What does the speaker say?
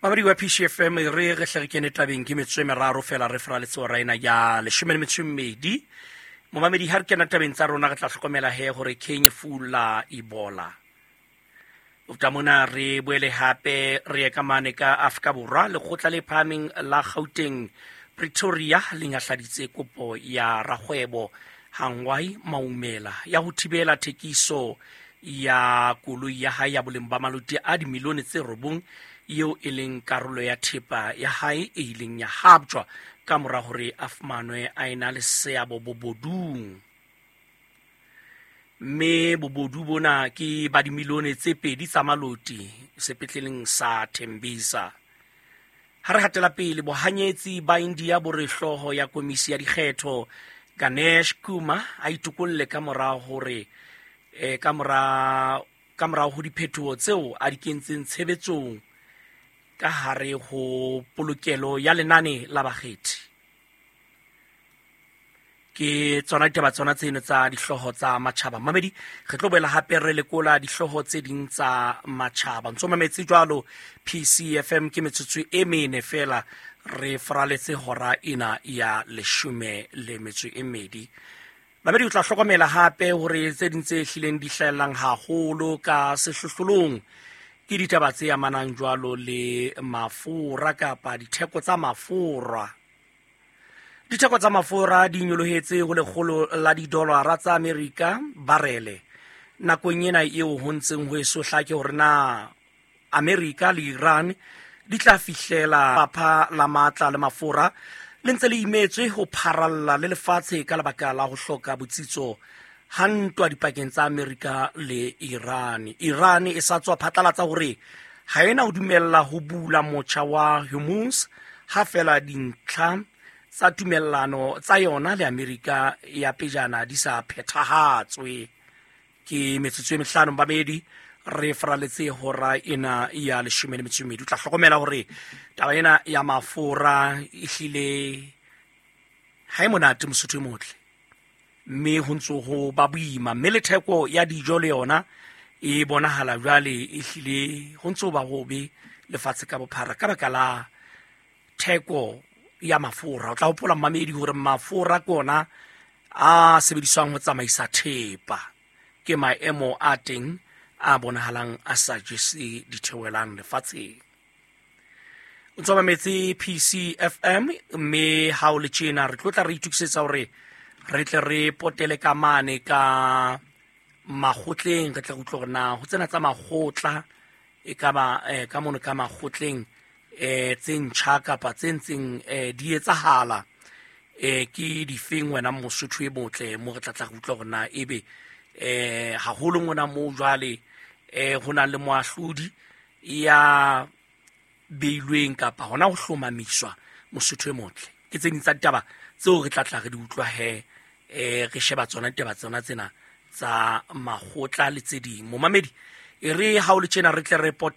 Mamedi wa PCFM, re re hle re kene tabeng. Ke metsotso e meraro fela re fraletse hora ena ya 12. Momamedi, ha re kena tabeng tsa rona, re tla hlokomela he hore Kenya lefu la Ebola. Ofta mona re boele hape re ye ka mane ka Afrika Borwa. Lekgotla le phahameng la Gauteng, Pretoria, le nyahladitse kopo ya rakgwebo Hangwai Maumela ya ho thibela thekiso ya koloi ya hae ya boleng ba maloti a dimilione tse 9, eo e leng karolo ya thepa ya hae e ileng ya haptjwa ka mora hore a fumanwe a ena le seabo bobodung, mme bobodu bona ke ba dimilione tse 2 tsa maloti sepetleleng sa Tembisa. Ha re hatela pele, bohanyetsi ba India bo re hlooho ya komisi ya dikgetho Ganesh Kumar a itokolle ka mora hore ka morao ho diphetoho tseo a di kentseng tshebetsong ka hare ho polokelo ya lenane la bakgethi. Ke tsona ditaba tsona tseno tsa dihlooho tsa matjhaba. Mamedi, re tlo boela hape re lekola dihlooho tse ding tsa matjhaba. Ntso mametse jwalo PCFM. Ke metsotso e mene fela re faraletse hora ena ya 12. Mamedi, o tla hlokomela hape hore tse ding tse hlileng di hlahellang haholo ka sehlohlolong ke ditaba tse amanang jwalo le mafura kapa ditheko tsa mafura. Ditheko tsa mafura di nyolohetse ho 100 la didolara tsa Amerika barele nakong ena eo ho ntseng ho eso hlake hore na Amerika le Iran di tla fihlela lefapha la matla le mafura le ntse le imetswe ho pharalla le lefatshe ka lebaka la ho hloka botsitso ha ntwa dipakeng tsa Amerika le Iran. Iran e sa tswa phatlalatsa hore ha ena ho dumella ho bula motjha wa Hormuz ha fela dintlha tsa tumellano tsa yona le Amerika ya pejana di sa phethahatswe. Ke metsotso e 5, babedi, re faraletse hora ena ya 12. O tla hlokomela hore taba ena ya mafura ehlile ha e monate, Mosotho e motle, mme ho ntso ho ba boima, mme le theko ya dijo le yona e bonahala jwale ehlile ho ntso ba hobe lefatshe ka bophara ka baka la theko ya mafura. O tla hopola, mmamedi, hore mafura ke ona a sebediswang ho tsamaisa thepa. Ke maemo a teng a bonahalang a sa jese ditheohelang lefatsheng. O ntso mametse PCFM, mme ha o le tjena re tlo tla re itokisetsa hore re tle re potele ka mane ka makgotleng, re tle re utlwe hore na ho tsena tsa makgotla e ka ba ka mono ka makgotleng tse ntjha kapa tse ntseng di etsahala ke difeng, wena Mosotho e motle, mo re tla tla re utlwa hore na ebe haholo ngwana moo jwale ho na le moahlodi ya beilweng kapa hona ho hlomamiswa. Mosotho e motle, ke tse ding tsa ditaba tseo re tla tla re di utlwa he re sheba tsona ditaba tsona tsena tsa makgotla le tse ding. Momamedi, e re ha o le tjena re tle re pote.